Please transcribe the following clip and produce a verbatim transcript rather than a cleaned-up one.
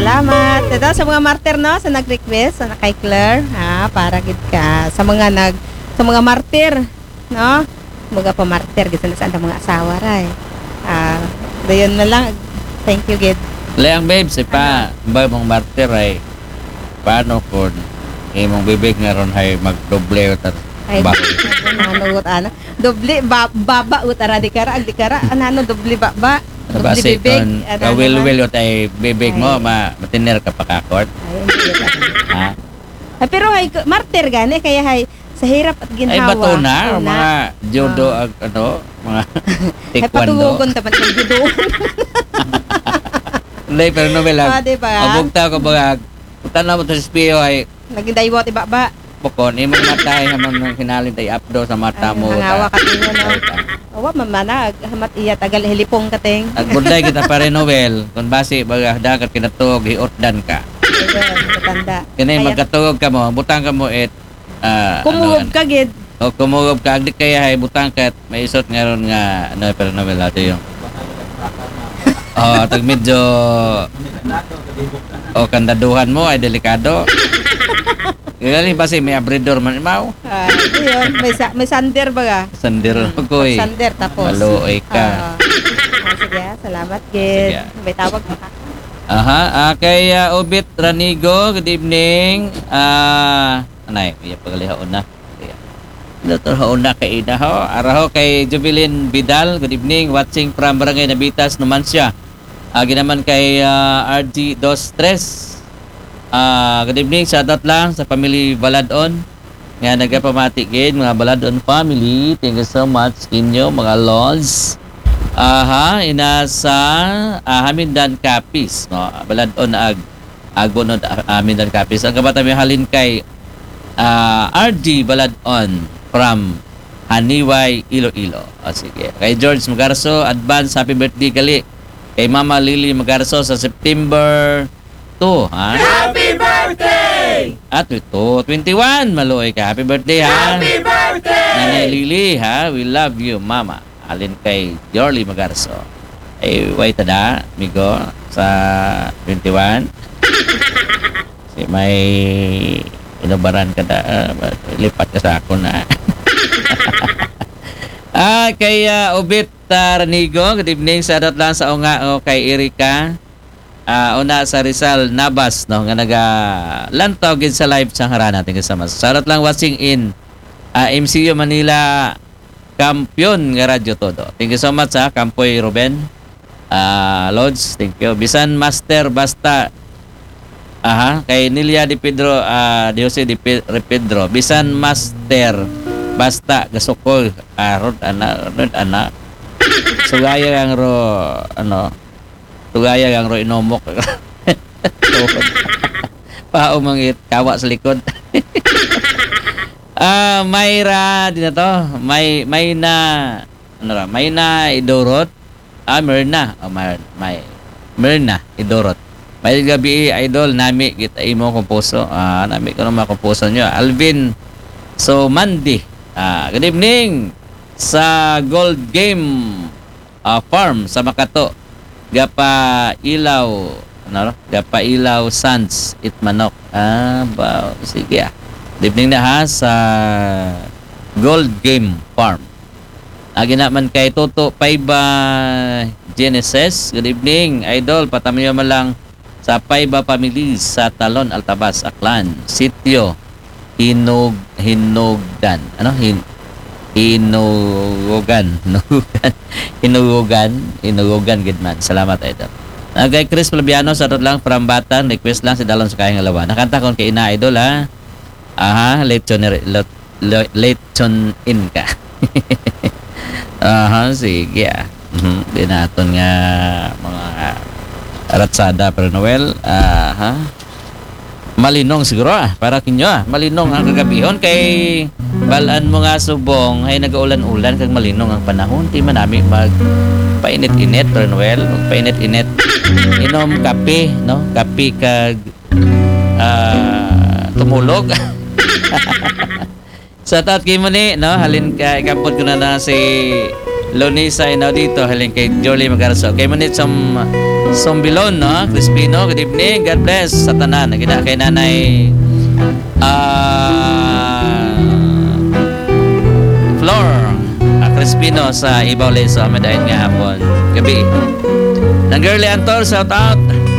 Salamat. Ito sa mga martir, no, sa nag-request, sa kay Claire, ha, para gid ka sa mga nag sa mga martir, no? Mga pamartir gid sila sa andang mga asawa ra, eh. Ah, dayon na lang. Thank you gid. Leang, babes, ipa, ba mong martir ay paano kung imong bibig nga ron ay magdoble o tar-, Ay, ba? Ano, ano, ano? Doble ba-, baba, utara, di kara, di kara, ano, ano, doble baba, doble Basi bibig, kung ano kawilwil naman? Ut ay bibig mo, Ay. ma-, matiner ka pakakot. Ay, hindi, utara. Ha? Ay, pero hay, martir gani, kaya hay, sa hirap at Ay, ginhawa, bato na, una. mga judo, Ah. ag-, ano, mga Ay, taekwondo. patugon ta man ang judo. Hindi, pero no, Mel, Ah, di ba? Ang bugtaw ko, baga, tanaw mo to sa espeho ay Naging daywat, iba ba? Bukon, imong mata, ay naman ang kinalin tay apdo sa mata Ay, mo, hangawa ta. ka, tingnan, no? Ay, ta. Awa, mamana, ag-, hamat iya, tagal, hilipong ka, ting. Agbudlay kita, pare Noel, kung basi, baga, dagat kinatog, hiutdan ka. Ayun, matanda. Kini, Kaya magkatog ka mo, butang ka mo, it, ah, Kumuhob ano, ka, gid. O, kumuhob ka, agdi kaya, hay, butang ka, may isot nga ron nga, ano, pare Noel, ato yung, oh, tag medyo, oh, kandaduhan mo, ay delikado. Kaya ni basi may abridor man, imaw. Ah, ito yun. May sa-, may sander ba ka? Sander Hmm, ko, eh. Sander, tapos. Maluoy ka. Ah. Ah, sige, ah. Salamat, Sige, gid. ah. May tawag pa ka? Aha, ah, kay, ah, Obit Ranigo, good evening. Ah, anay, iya pagalihaon na. Iya. Doktor Hauna kay ina ho. Ara ho kay Jubilin Vidal, good evening. Watching from Barangay Nabitas, Numancia. Ah, ginaman kay, ah, R G Dos Tres. Ah, good evening. Shoutout lang sa family Baladon nga nagapamati gid, mga Baladon family. Thank you so much inyo, mga lods. Aha, ina sa, ah, Hamindan Capiz, no? Baladon ag Agbonod, ah, Hamindan Capiz. Ang kabata may halin kay, ah, R G Baladon from Haniway, Iloilo. O, sige. Kay George Magarso, advance happy birthday gali kay Mama Lily Magarso sa September two, ha? Happy birthday! At ito, twenty-one, maluoy ka. Happy birthday, ha? Happy birthday! Nanay Lily, ha? We love you, Mama. Halin kay Jorly Magarso. Ay, way tada, amigo, sa twenty-one. Si may inubaran ka na, ah, lipat ka sa ako na. Ah, kay, ah, Obit, ah, Ranigo, good evening. Shoutout lang sa unga, oh, kay Erika. Ah, una sa Rizal Nabas, no, nga nagalantaw gid sa live sa harana. Thank you so much. Shoutout lang watching in, ah, M C U Manila, Kampiyon nga Radyo Todo. Thank you so much, ha, Kampoy Ruben. Ah, Lods, thank you. Bisan Master, basta, aha, kay Nilia de Pedro, ah, de Jose de Pe-, de Pedro. Bisan Master, basta gasukol. Ah, rod, ana, rod, ana. Sugaya ang ro, ano, sugaya ang ro inomok. Paumangit, kawa sa likod. Ah, Myra, di na to. May, may na, ano ra, may na idurot. Ah, Myrna. Oh, Mar-, may, Myrna, idurot. May gabi, idol, nami kita imo kumpuso. Ah, nami ko ng mga kumpuso nyo. Alvin, so, Mandy. Ah, good evening sa Gold Game, ah, Farm sa Makato. Gapailaw, ano, Gapailaw Sands it manok. Ah, ba, sige, ah. Good evening na, ha, sa Gold Game Farm. Agi naman kay Toto Paiba Genesis. Good evening, idol. Patamayo man lang sa Paiba family sa Talon, Altavas, Aklan. Sitio Hinug-, Hinugdan. Ano? Hin-, Hinugugan. Hinugugan. Hinugugan. Hinugugan, gid man. Salamat, idol. Ah, kay Chris Flaviano, sa lang from Batan, request lang si Dalon sa Kahing Alawa. Nakanta kon kay ina, idol, ha? Aha, lechon, le-, le-, lechon in ka. Aha, sige, ah. Mhm, di naton nga mga ratsada, pero Noel, aha. Malinong siguro, ah, para kinyo, ah. Malinong ang kagabihon kay balan mo nga subong ay nagaulan-ulan kag malinong ang panahon. Di man nami magpainit-init, pero Noel, magpainit-init. Inom kape, no? Kape kag, ah, tumulog. Shout out kay Muni, no? Halin ka, ikampot ko na na si Lonisa Inaudito, halin kay Jorly Magarso. Kay Muni, some Sombilon, no? Crispino, good evening. God bless sa tanan. Nagina kay Nanay, ah, Flor, ah, Crispino sa Ibaw Leso. Amid ayat nga hapon. Gabi. Nang Girly Antor, shout out.